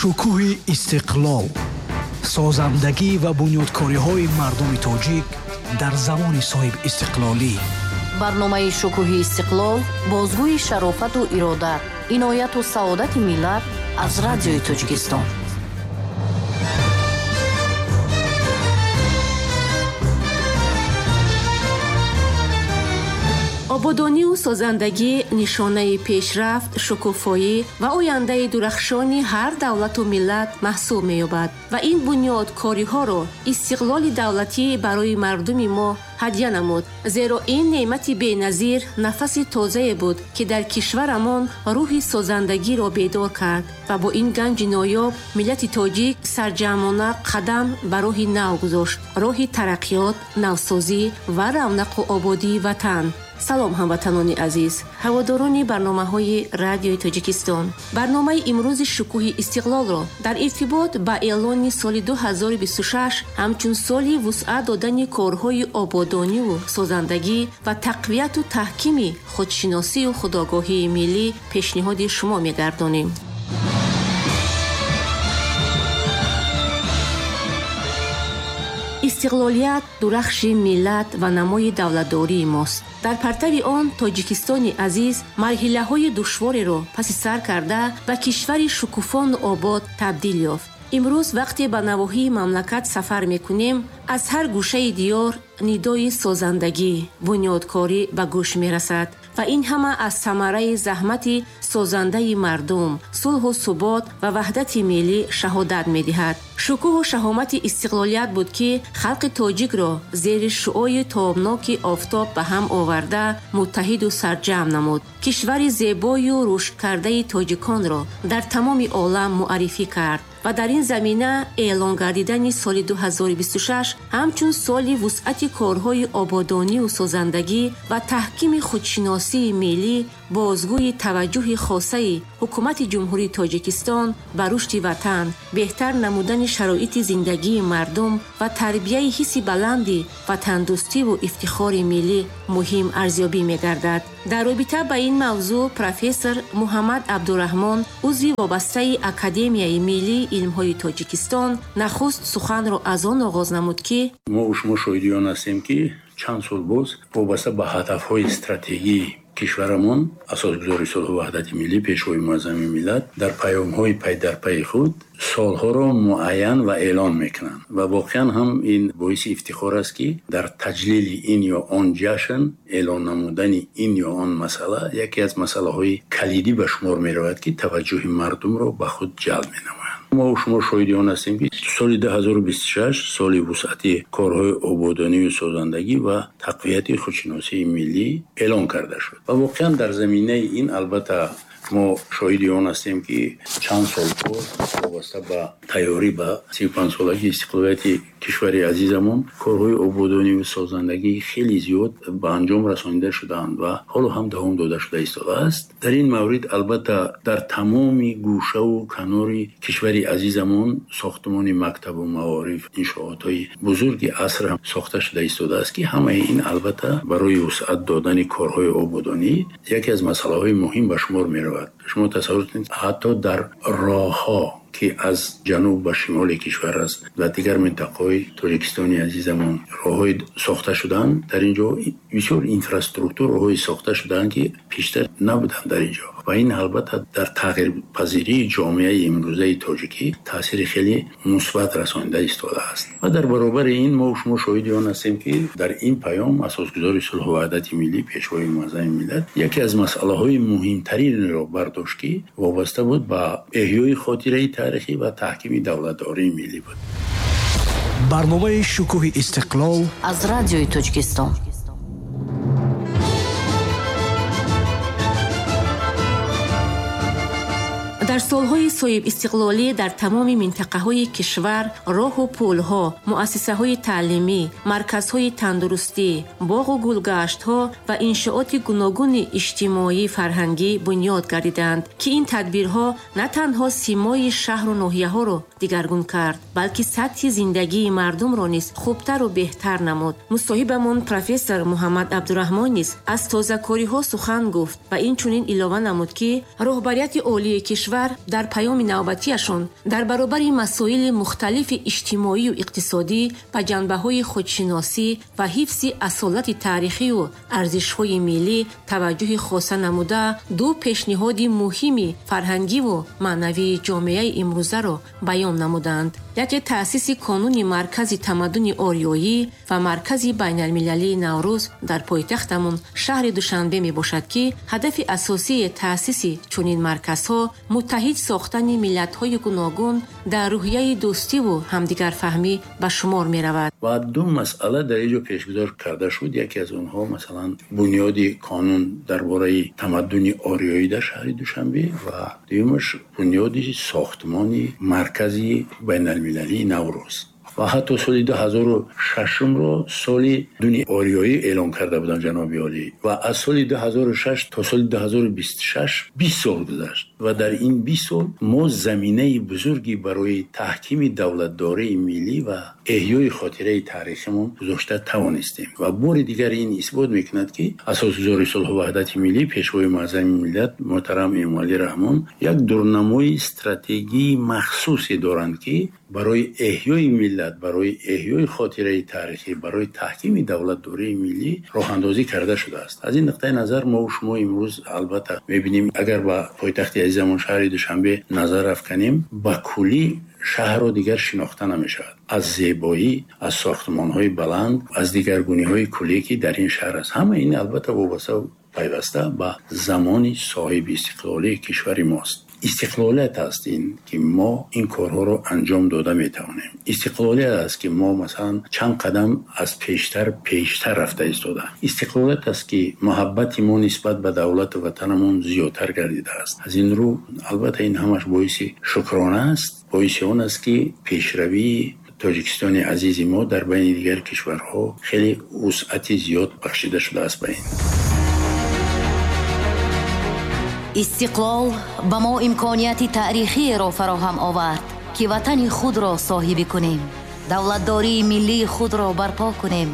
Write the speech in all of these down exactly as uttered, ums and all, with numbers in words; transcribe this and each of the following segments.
Шукӯҳи истиқлол, созандагӣ ва бунёдкориҳои мардуми тоҷик дар замони соҳибистиқлолӣ. Барномаи Шукӯҳи истиқлол бозгӯи шарофату ирода, инояту саодати миллат аз Радиои Тоҷикистон. Ободониву созандагӣ нишонаи пешрафт, шукуфоӣ ва ояндаи дурахшони ҳар давлату миллат маҳсуб меёбад ва ин бунёдкориҳоро истиқлоли давлатӣ барои мардуми мо ҳадя намуд, зеро ин неъмати беназир нафаси тозае буд, ки дар кишварамон рӯҳи созандагиро бедор кард ва бо ин ганҷи ноёб миллати тоҷик сарҷамъона қадам ба роҳи нав гузошт, роҳи тараққиёт, навсозӣ ва равнақу ободии ватан. Салом, ҳамватанони азиз, ҳаводорони барномаҳои Радиои Тоҷикистон. Барномаи имрӯзи Шукӯҳи истиқлолро дар иртибот ба эълони соли ду ҳазору бисту шаш ҳамчун соли вусъат додани корҳои ободониву созандагӣ ва тақвияту таҳкими худшиносию худогоҳии миллӣ пешниҳоди шумо мегардонем. Истиқлолият дурахши миллат ва намои давлатдории мост. Дар партави он Тоҷикистони азиз марҳилаҳои душвореро паси сар карда ба кишвари шукуфону обод табдил ёфт. Имрӯз вақте ба навоҳии мамлакат сафар мекунем, аз ҳар гӯшаи диёр нидои созандагӣ, бунёдкорӣ ба гӯш мерасад ва ин ҳама аз самараи заҳмати созандаи мардум, сулҳу субот ва ваҳдати миллӣ шаҳодат медиҳад. Шукӯҳу шаҳомати истиқлолият буд, ки халқи тоҷикро зери шуои тобноки офтоб ба ҳам оварда муттаҳиду сарҷамъ намуд. Кишвари зебою рушдкардаи тоҷиконро дар тамоми олам муаррифӣ кард ва дар ин замина эълон гардидани соли ду ҳазору бисту шаш ҳамчун соли вусъати корҳои ободониву созандагӣ ва таҳкими худшиносии миллӣ бозгӯи таваҷҷӯҳи хосаи ҳукумати Ҷумҳурии Тоҷикистон ба рушди ватан, беҳтар намудани шароити зиндагии мардум ва тарбияи ҳисси баланди ватандӯстиву ифтихори миллӣ муҳим арзёбӣ мегардад. Дар робита ба ин мавзӯъ профессор Муҳаммад Абдураҳмон, узви вобастаи Академияи миллии илмҳои Тоҷикистон, нахуст суханро аз он оғоз намуд, ки мо шумо шоҳиди он ҳастем, ки чанд сол боз вобаста ба ҳадафҳои стратегии кишварамон асосгузори сулҳу ваҳдати миллӣ, пешвои муаззами миллат дар паёмҳои пайдарпайи худ солҳоро муайян ва эълон мекунанд ва воқеан ҳам ин боиси ифтихор аст, ки дар таҷлили ин ё он ҷашн эълон намудани ин ё он масъала яке аз масъалаҳои калидӣ ба шумор меравад, ки таваҷҷӯҳи мардумро ба худ ҷалб менамояд. Мо шумо шоҳиди он ҳастем, ки соли ду ҳазору бисту шаш соли вусъати корҳои ободониву созандагӣ ва тақвияти худшиносии миллӣ эълон карда шуд ва воқеан дар заминаи ин албатта мо шоҳиди он ҳастем, ки чанд сол боз вобаста ба тайёрӣ ба сию панҷсолагии истиқлолияти кишвари азизамон корҳои ободониву созандагӣ хеле зиёд ба анҷом расонида шудаанд ва ҳоло ҳам давом дода шуда истодааст. Дар ин маврид албатта дар тамоми гӯшаву канори кишвари азизамон сохтмони мактабу маориф, иншоотҳои бузурги аср ҳам сохта шуда истодааст, ки ҳамаи ин албатта барои вусъат додани корҳои ободонӣ яке аз масъалаҳои муҳим ба шумор меравад. Шумо тасаввур кунед, ҳатто дар роҳҳо, ки аз ҷануб ба шимоли кишвар аст ва дигар минтақаҳои Тоҷикистони азизамон роҳҳои сохта шудаанд, дар ин ҷо бисёр инфраструктур роҳҳои сохта шудаанд, ки пештар набуданд дар ин ҷо ва ин албатта дар тағйирпазирии ҷомеаи имрӯзаи тоҷикӣ таъсири хеле мусбат расонида истодааст. Ва дар баробари ин мо шумо шоҳиди он ҳастем, ки дар ин паём асосгузори сулҳу ваҳдати миллӣ, пешвои муаззами миллат яке аз масъалаҳои муҳимтаринро бардошт, ки вобаста буд ба эҳёи хотираи таърихӣ ва таҳкими давлатдории миллӣ буд. Барномаи Шукӯҳи истиқлол аз Радиои Тоҷикистон. Дар солҳои соҳибистиқлолӣ дар тамоми минтақаҳои кишвар роҳу пулҳо, муассисаҳои таълимӣ, марказҳои тандурустӣ, боғу гулгаштҳо ва иншооти гуногуни иҷтимоӣ фарҳангӣ бунёд гардиданд, ки ин тадбирҳо на танҳо симои шаҳру ноҳияҳоро дигаргун кард, балки сатҳи зиндагии мардумро низ хубтару беҳтар намуд. Мусоҳибамон профессор Муҳаммад Абдураҳмон низ аз тозакориҳо сухан гуфт ва инчунин илова намуд, ки роҳбарияти олии кишвар кишвар дар паёми навбатиашон дар баробари масоили мухталифи иҷтимоию иқтисодӣ ба ҷанбаҳои худшиносӣ ва ҳифзи асолати таърихию арзишҳои миллӣ таваҷҷӯҳи хоса намуда, ду пешниҳоди муҳими фарҳангиву маънавии ҷомеаи имрӯзаро баён намуданд. Яке таъсиси қонуни маркази тамаддуни ориёӣ ва маркази байналмилалии Наврӯз дар пойтахтамон шаҳри Душанбе мебошад, ки ҳадафи асосии таъсиси чунин марказҳо муттаҳид сохтани миллатҳои гуногун дар рӯҳияи дӯстиву ҳамдигарфаҳмӣ ба шумор меравад. Ва ду масъала дар инҷо пешгузор карда шуд. Яке аз онҳо масалан бунёди қонун дар бораи тамаддуни ориёӣ дар шаҳри Душанбе ва дуюмаш бунёди сохтмони маркази байналмилалии Наврӯз. Ва ҳатто соли ду ҳазору шашумро соли дуни ориёӣ эълон карда буданд ҷаноби олӣ. Ва аз соли ду ҳазору шаш то соли ду ҳазору бисту шаш бист сол гузашт ва дар ин бист сол мо заминаи бузурге барои таҳкими давлатдории миллӣ ва эҳёи хотираи таърихимон гузошта тавонистем. Ва бори дигар ин исбот мекунад, ки асосгузори сулҳу ваҳдати миллӣ, пешвои муаззами миллат муҳтарам Эмомалӣ Раҳмон як дурнамои стратегии махсусе доранд, ки барои эҳёи миллат, барои эҳёи хотираи таърихӣ, барои таҳкими давлатдории миллӣ роҳандозӣ карда шудааст. Аз ин нуқтаи назар мо шумо имрӯз албатта мебинем, агар ба пойтахти азизамон шаҳри Душанбе назар афканем, ба куллӣ шаҳрро дигар шинохта намешавад. Аз зебоӣ, аз сохтмонҳои баланд, аз дигаргуниҳои куллӣ, ки дар ин шаҳр аст. Ҳама ин албатта вобаста пайваста ба замони соҳиби истиқлолии кишвари мост. Истиқлолият аст ин, ки мо ин корҳоро анҷом дода метавонем. Истиқлолият аст, ки мо масалан чанд қадам аз пештар пештар рафта истода. Истиқлолият аст, ки муҳаббати мо нисбат ба давлату ватанамон зиёдтар гардидааст. Аз ин рӯ албатта ин ҳамаш боиси шукрона аст, боиси он аст, ки пешравии Тоҷикистони азизи мо дар байни дигар кишварҳо хеле вусъати зиёд бахшида шудааст ба ин. Истиқлол ба мо имконияти таърихиеро фароҳам овард, ки ватани худро соҳибӣ кунем, давлатдории миллии худро барпо кунем,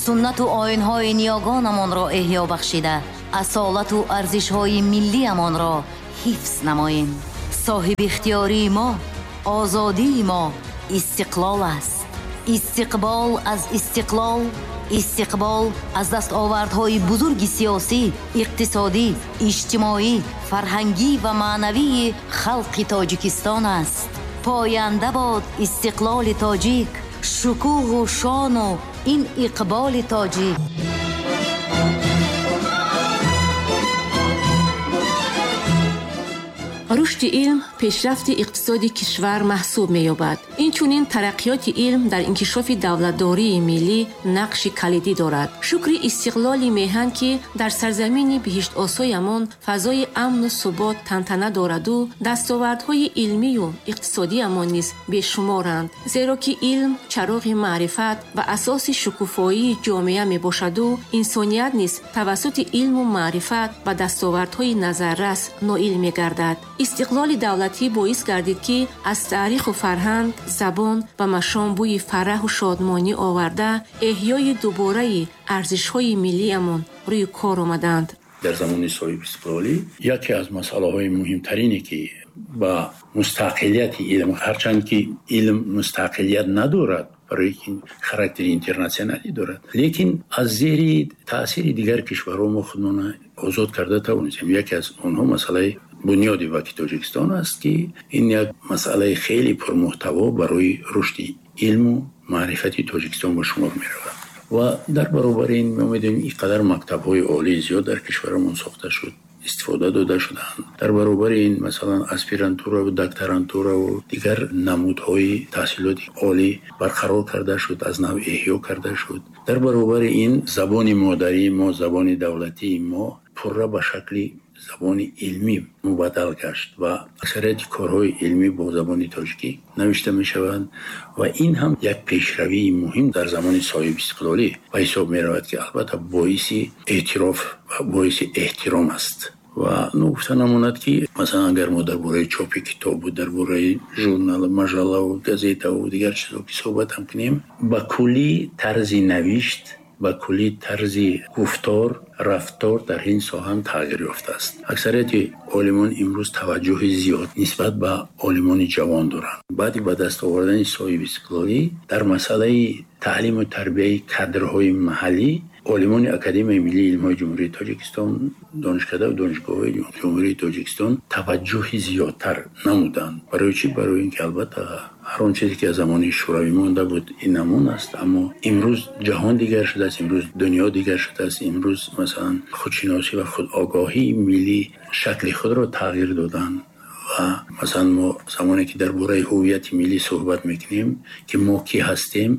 суннату оинҳои ниёгонамонро эҳё бахшида, асолату арзишҳои миллиамонро ҳифз намоем. Соҳибихтиёрии мо, озодии мо истиқлол аст. Истиқбол аз истиқлол, истиқбол аз дастовардҳои бузурги сиёсӣ, иқтисодӣ, иҷтимоӣ, фарҳангӣ ва маънавии халқи Тоҷикистон аст. Поянда бод истиқлоли тоҷик, шукӯҳу шону ин иқболи тоҷик. Рушди илм пешрафти иқтисоди кишвар маҳсуб меёбад. Инчунин тараққиёти илм дар инкишофи давлатдории миллӣ нақши калидӣ дорад. Шукри истиқлоли меҳан, ки дар сарзамини биҳиштосоямон фазои амну субот тантана дораду дастовардҳои илмию иқтисодиямон низ бешуморанд, зеро ки илм чароғи маърифат ва асоси шукуфоии ҷомеа мебошаду инсоният низ тавассути илму маърифат ба дастовардҳои назаррас ноил мегардад. Истиқлоли давлатӣ боис гардид, ки аз таъриху фарҳанг, забон ва машом бӯи фараҳу шодмонӣ оварда, эҳёи дубораи арзишҳои миллиамон рӯи кор омаданд. Дар замони соҳибистиқлолӣ яке аз масъалаҳои муҳимтарине, ки ба мустақилияти илм, ҳарчанд ки илм мустақилият надорад, барои ки характери интернатсионалӣ дорад, лекин аз зери таъсири дигар кишварҳо мо худмона озод карда тавонистем. Яке аз онҳо масъалаи бунёди Бонки Тоҷикистон аст, ки ин як масъалаи хеле пурмуҳтаво барои рушди илму маърифати Тоҷикистон ба шумор меравад. Ва дар баробари ин мо медонем ин қадар мактабҳои олии зиёд дар кишварамон сохта шуд, истифода дода шуданд. Дар баробари ин масалан аспирантура ва докторантура ва дигар намудҳои таҳсилоти олӣ барқарор карда шуд, аз нав эҳё карда шуд. Дар баробари ин забони модарии мо, забони давлатии мо пурра ба шакли забони илмӣ мубаддал гашт ва аксарияти корҳои илмӣ бо забони тоҷикӣ навишта мешаванд ва ин ҳам як пешравии муҳим дар замони соҳибистиқлолӣ ба ҳисоб меравад, ки албатта боиси эътироф ва боиси эҳтиром аст. Ва ногуфта намонад, ки масалан агар мо дар бораи чопи китобу дар бораи журнал, маҷаллаву газетаву дигар чизҳо ки суҳбат ҳам кунем, ба куллӣ тарзи навишт Ба куллӣ тарзи гуфтор, рафтор дар ин соҳа тағйир ёфтааст. Аксарияти олимон имрӯз таваҷҷӯҳи зиёд нисбат ба олимони ҷавон доранд. Баъди ба даст овардани соҳибистиқлолӣ дар масъалаи таълиму тарбияи кадрҳои маҳаллӣ олимони Академияи миллии илмҳои Ҷумҳурии Тоҷикистон, донишкадаву донишгоҳҳои Ҷумҳурии Тоҷикистон таваҷҷӯҳи зиёдтар намуданд. Барои чӣ? Барои ин ки албатта ҳар он чизе ки аз замони шӯравӣ монда буд, ин намон аст, аммо имрӯз ҷаҳон дигар шудааст, имрӯз дунё дигар шудааст, имрӯз масалан худшиносӣ ва худогоҳии миллӣ шакли худро тағйир доданд. Ва масалан мо замоне ки дар бораи ҳуввияти миллӣ суҳбат мекунем, ки мо кӣ ҳастем,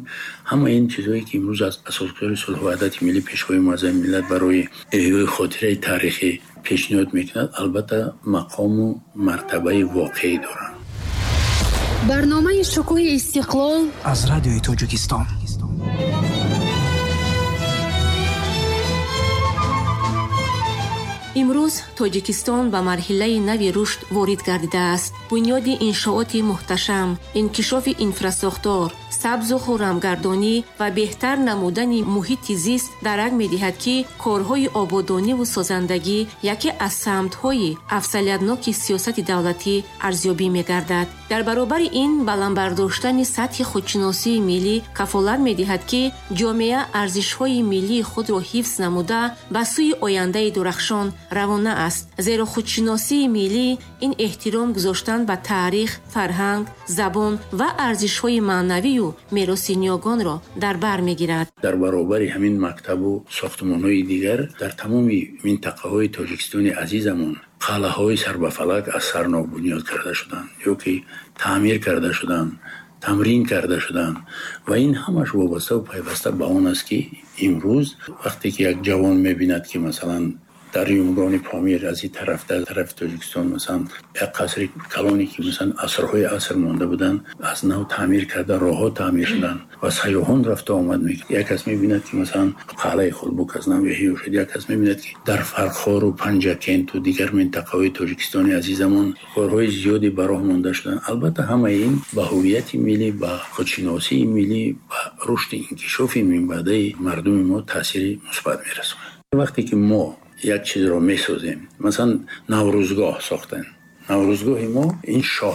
ҳама ин чизҳое ки имрӯз аз асосгузори сулҳу ваҳдати миллӣ, Пешвои муаззами миллат барои эҳёи хотираи таърихӣ пешниҳод мекунад, албатта мақому мартабаи воқеӣ доранд. Барномаи Шукӯҳи истиқлол аз Радиои Тоҷикистон. Имрӯз Тоҷикистон ба марҳилаи нави рушд ворид гардидааст. Бунёди иншооти муҳташам, инкишофи инфрасохтор, сабзу хуррамгардонӣ ва беҳтар намудани муҳити зист дарак медиҳад, ки корҳои ободониву созандагӣ яке аз самтҳои афзалиятноки сиёсати давлатӣ арзёбӣ мегардад. Дар баробари ин баланд бардоштани сатҳи худшиносии миллӣ кафолат медиҳад, ки ҷомеа арзишҳои миллии худро ҳифз намуда ба сӯи ояндаи дурахшон равона аст. Зеро худшиносии миллӣ ин эҳтиром гузоштан ба таърих, фарҳанг, забон ва арзишҳои маънавию мероси ниёгонро дар бар мегирад. Дар баробари ҳамин мактабу сохтмонҳои дигар дар тамоми минтақаҳои Тоҷикистони азизамон қалъаҳои сарбафалак аз сарнов бунёд карда шуданд ё ки таъмир карда шуданд, тамрин карда шуданд ва ин ҳамаш вобаставу пайваста ба он аст, ки имрӯз вақте ки як ҷавон мебинад, ки масалан дар Юмрони Помир аз ин тараф, дар тарафи Тоҷикистон масалан як қасри калоне ки масалан асрҳои аср монда буданд, аз нав таъмир карда, роҳҳо таъмир шуданд ва сайёҳон рафта омад мекунад. Як кас мебинад, ки масалан қалъаи Хулбук аз нав эҳё шуд, як кас мебинад, ки дар Фархору Панҷакенту дигар минтақаҳои Тоҷикистони азизамон корҳои зиёде ба роҳ монда шуданд. Албатта ҳамаи ин ба ҳуввияти миллӣ, ба худшиносии миллӣ, ба рушди инкишофи минбаъдаи мардуми мо таъсири мусбат мерасонад. Вақте ки мо як чизро месозем, масалан Наврӯзгоҳ сохтан, Наврӯзгоҳи мо ин шоҳ